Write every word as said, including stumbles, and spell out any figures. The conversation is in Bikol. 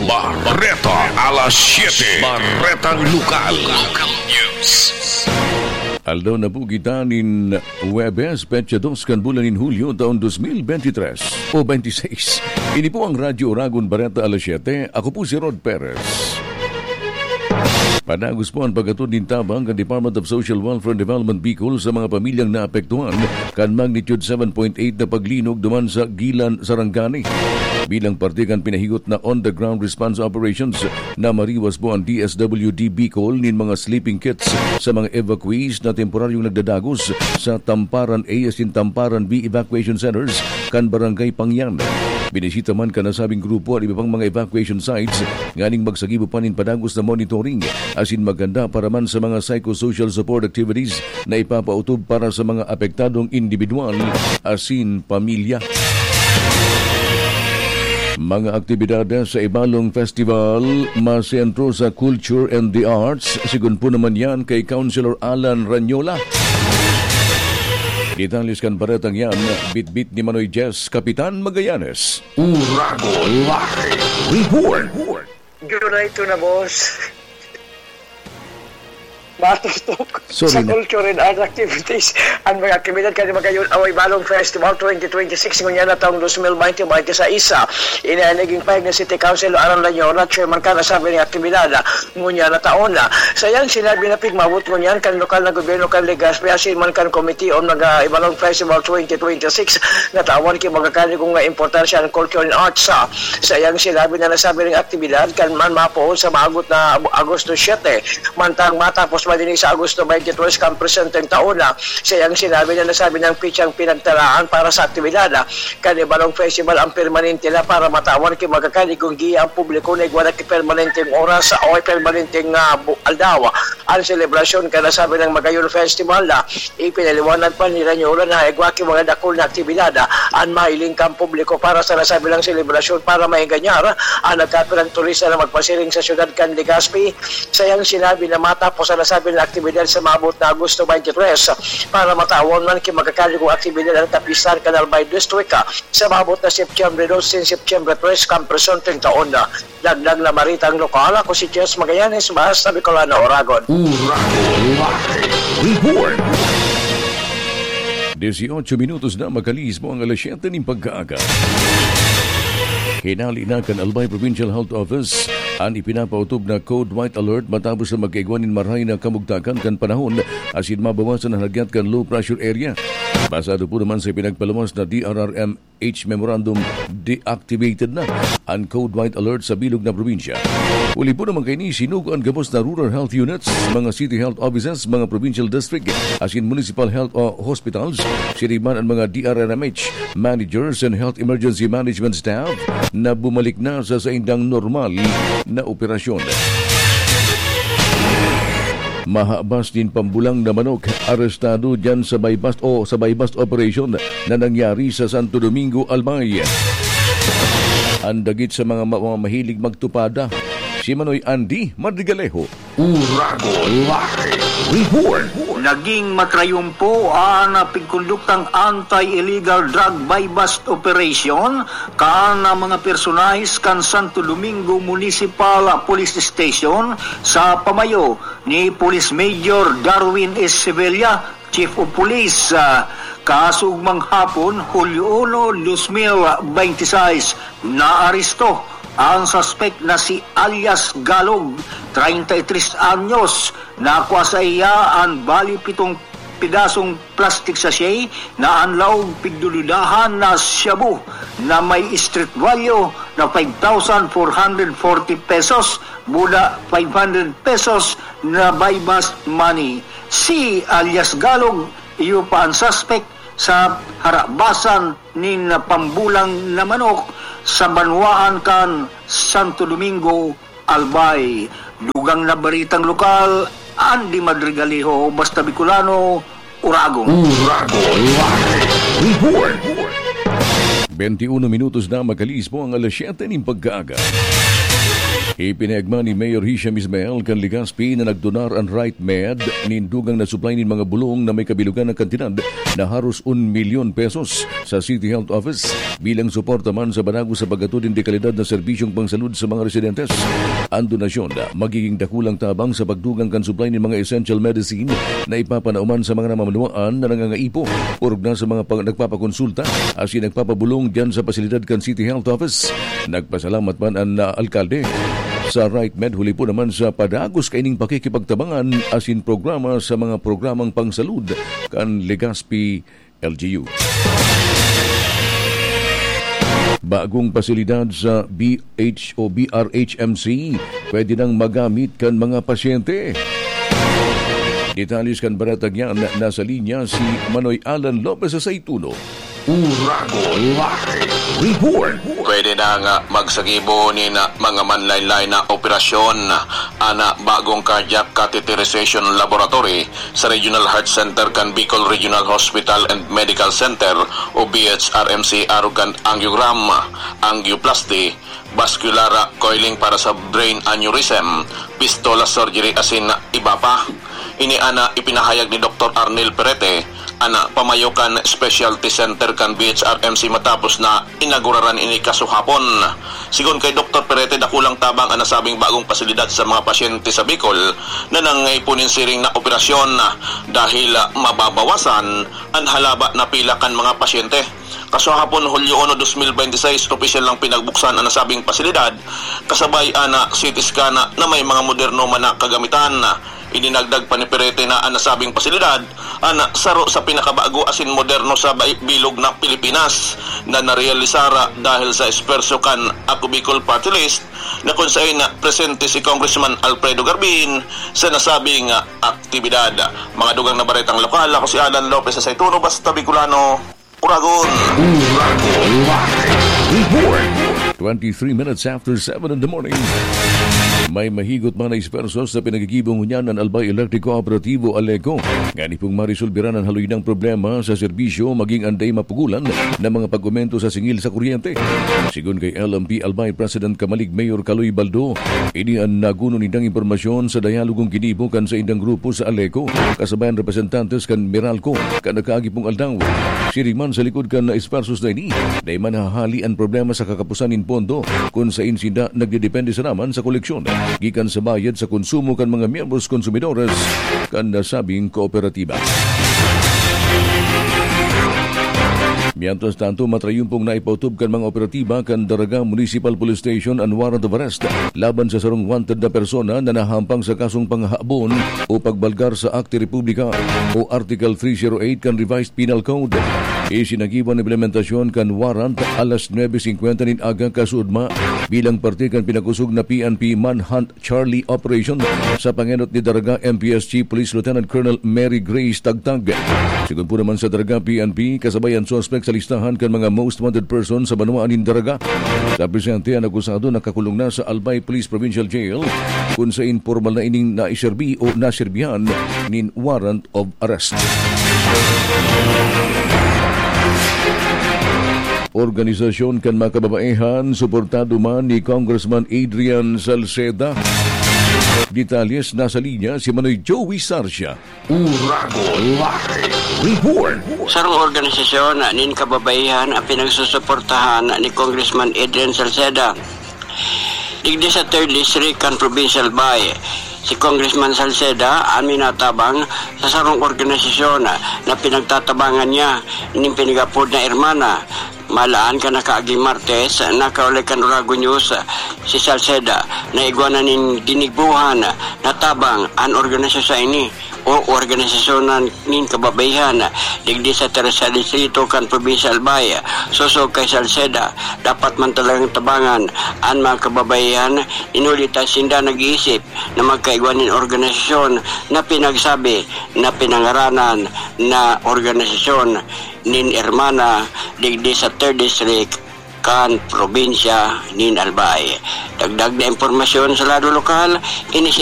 Bareta alas siyete. Baretang Lokal. Local News. Aldaw na po kita nin Huwebes, petsa dos kan bulan nin Hulyo, taon dos mil bente tres o bente seis. Ini po ang Radyo Oragon Bareta alas siyete. Ako po si Rod Perez. Padagos po an pag-atod nin tabang kan Department of Social Welfare and Development Bicol sa mga pamilyang naapektuhan kan magnitude seven point eight na paglinog duman sa Gilan, Sarangani. Bilang parte kan pinahigot na on-the-ground response operations, namariwas po ang D S W D Bicol nin mga sleeping kits sa mga evacuees na temporaryong nagdadagos sa Tamparan A asin Tamparan B evacuation centers kan Barangay Pangyan. Binisita man kan nasabing grupo an iba pang mga evacuation sites nganing magsagibo pa nin padagos na monitoring asin maganda para man sa mga psychosocial support activities na ipapautob para sa mga apektadong indibidwal asin pamilya. Mga aktibidades sa Ibalong Festival masentro sa Culture and the Arts, sigon po naman yan kay Councilor Alan Ranyola. Detalles kan baretang yan, bitbit ni Manoy Jess, Kapitan Magallanes. Uragon Live Report. July two na, boss. Matutok Sorry sa na. Culture and Art Activities. Ang mga aktibidad kan magayon away Balong Festival twenty twenty-six ngunyan na taong dos mil bente, bente sa isa. Ini ang naging pahayag ni City Councilor Alan Lanyola, chairman kan nasabing aktibidad ngunyan na taon. Sa iyang sinabi na pigmawot ngunyan kan lokal na gobyerno kan Legazpi, asin man kan Committee on mga Ibalong Festival twenty twenty-six, natawan ki magakani kung nga importansya ang culture and arts. Sa iyang sinabi na nasabi ning aktibidad kan man mapoon sa maagot na Agosto siete, mantang matapos man ini sa Agosto twenty-three kan presenteng taon. Sa iyang sinabi na nasabi ng pitsang pinagtalaan para sa aktibidad kan Ibalong Festival ang permanente na para matawan ki magakani kung giya ang publiko na igwa na ki permanenteng oras o permanenteng, ah, bu-, aldaw. Ang selebrasyon kan nasabi ng Magayon Festival na ipinaliwanag pa ni Ranyola na igwa ki mga dakul na aktibidad, ah, an mahiling kan publiko para sa nasabi ng selebrasyon para maenganyar ang nagkapirang turista na magpasiring sa siyudad kan Legazpi. Sa iyang sinabi na matapos ang nasabi na aktibidad sa maabot na Agosto twenty-three, para matawan man ki magakani kung aktibidad ang kapistahan kan Albay District, ah, sa maabot na Setyembre dos sin Setyembre tres kan presenteng taon. Dagdag na baritang lokal, ako si Jess Magallanes, Basta Bicolano, Oragon. Uragon Live Report. Dieciocho minutos na makalihis po ang alas siyete nin pagkaaga. Hinali na kan Albay Provincial Health Office an ipinapautob na Code White Alert matapos na magkaigwa nin marahay na kamugtakan kan panahon asin mabawasan an hagyat kan low pressure area. Basado po naman sa pinagpaluwas na D R R M H memorandum, deactivated na an Code White Alert sa bilog na probinsya. Huli po naman kaini, sinugo an gabos na rural health units, mga city health offices, mga provincial district, asin municipal health o hospitals, siring man an mga D R R M H managers and health emergency management staff na bumalik na sa saindang normal na operasyon. Mahabas nin pambulang na manok arestado diyan sa buy-bust o sa buy-bust operation na nangyari sa Santo Domingo, Albay. Ang dagit sa mga ma-, mga mahilig magtupada, si Manoy Andy Madrigalejo. Uragon Live Report. Naging matrayumpo ang pigkonduktang anti-illegal drug buy-bust operation kan mga personahes kan Santo Domingo Municipal Police Station sa pamayo ni Police Major Darwin S. Sevilla, Chief of Police, ah, kahaso ugmang hapon, Hulyo uno, dos mil bente seis, naaresto ang suspek na si alias Galog, treinta y tres anyos. Nakua sa iya an bali pitong pedasong plastic sachet na an laog pigdududahan na shabu na may street value na five thousand four hundred forty pesos, muda five hundred pesos na buy-bust money. Si alias Galog, iyo pa an suspek sa harabasan nin pambulang na manok sa banwaan kan Santo Domingo, Albay. Dugang na baritang lokal, Andy Madrigalejo, Basta Bicolano, Uragon. Uragon Live Report. Bente uno minutos na makaliis po ang alas siyete nin pagkaaga. Ipinagma ni Mayor Hisham Ismael kan Legazpi na nagdonar an Right Med nin dugang na supply nin mga bulong na may kabilugan na kantidad na haros un milyon pesos sa City Health Office bilang suporta man sa panago sa paghatod nin dekalidad na serbisyong pangsalud sa mga residentes. An donasyon magiging dakulang tabang sa pagdugang kan supply nin mga essential medicine na ipapanauman sa mga namamanwaan na nangangaipo, orog na sa mga pag-, nagpapakonsulta asin nagpapabulong diyan sa pasilidad kan City Health Office. Nagpasalamat man an, ah, alkalde sa Right Med huli po naman sa padagos kaining pakikipagtabangan asin programa sa mga programang pangsalud kan Legazpi L G U. Bagong pasilidad sa B H o B R H M C, pwede nang magamit kan mga pasyente. Detalye kan baretang yan, nasa linya si Manoy Alan Lopez sa Saituno. Uragon Live Report. Pwede na nga magsagibo nin mga manlaynlay na operasyon an bagong cardiac catheterization laboratory sa Regional Heart Center kan Bicol Regional Hospital and Medical Center o B H R M C, arog kan angiogram, angioplasty, vascular coiling para sa brain aneurysm, fistula surgery asin iba pa. Ini an ipinahayag ni Doktor Arnel Perete, an pamayo kan Specialty Center kan B H R M C matapos na inaguraran ini kasuhapon. Sigon kay Doktor Perete, dakulang tabang an nasabing bagong pasilidad sa mga pasyente sa Bicol na nangangaipo nin siring na operasyon dahil mababawasan an halaba na pila kan mga pasyente. Kasuhapon, Hulyo uno, dos mil bente seis, opisyal nang pinagbuksan an nasabing pasilidad, kasabay an C T scan na may mga moderno man na kagamitan. Idinagdag pa ni Perete na an nasabing pasilidad an saro sa pinakabago asin moderno sa bai-, bilog na Pilipinas na narealisar dahil sa esfuerso kan Ako Bicol Party List na kun saen presente si Congressman Alfredo Garbin sa nasabing aktibidad. Mga dugang na baretang lokal, ako si Alan Lopez sa Saituno, Basta Bicolano, Uragon. Uragon Live Report. Twenty-three minutes after seven in the morning. May mahigot man na esfuerso sa pinaggigibo ngunyan an Albay Electric Cooperativo, Aleco. Ngani pong marisolbiran an haloy nang problema sa serbisyo, maging an dai mapugulan na mga pag-komento sa singil sa kuryente. Sigon kay L M P Albay President Kamalig Mayor Kaloy Baldo, ini an naguno nindang impormasyon sa dayalogong ginibo kan saindang grupo sa Aleco, kasabay an representantes kan Meralco, kan nakaagi pong aldaw. Siring man sa likod kan esfuersos na ini, dai man nahahali an problema sa kakapusan nin pondo, kun saen sinda nagdedepende sana man sa koleksyon gikan sa bayad sa konsumo kan mga miyembros konsumidores kan nasabing kooperatiba. Mientras tanto, matrayon pong naipautob kan mga operatiba kan Daraga Municipal Police Station an warrant of arrest laban sa sarong wanted na persona na nahampang sa kasong panghahabon o pagbalgar sa Akte Republika o Article three zero eight kan Revised Penal Code. Isinagibo an implementasyon kan warrant alas nuebe singkwenta nin aga kasuodma bilang parte kan pinakosog na P N P Manhunt Charlie Operation sa pangenot ni Daraga M P S Chief Police Lieutenant Colonel Mary Grace Tagtag. Sigon po naman sa Daraga P N P, kasabay an suspek sa listahan kan mga most wanted person sa banwaan nin Daraga. Sa presente, an akusado nakakulong na sa Albay Police Provincial Jail, kun saen pormal na ining naiserbi o naserbihan nin warrant of arrest. Organisasyon kan mga kababaehan, suportado man ni Congressman Adrian Salceda. Detalles, nasa linya si Manoy Joey Sarcia. Uragon Live Report. Sarong organisasyon nin kababaehan ang pinagsusuportahan ni Congressman Adrian Salceda. Digdi sa Third District kan Provincial Albay, si Congressman Salceda an minatabang sa sarong organisasyon na pinagtatabangan niya nin pinag-apod na Hermana. Malaan kan nakaaging Martes, nakaulay kan Uragon News si Salceda na igwa na nin ginigbohan na tabang an organisasyon ini o organisasyon nin kababaehan digdi sa Tercer Distrito kan Probinsya Albay. Sosog kay Salceda, dapat man talagang tabangan an mga kababaehan, inuli ta sinda nag-iisip na magkaigwa nin organisasyon na pinagsabi na pinangaranan na organisasyon nin Hermana digdi sa Third District kan probinsya nin Albay. Dagdag na impormasyon sa lado lokal, ini si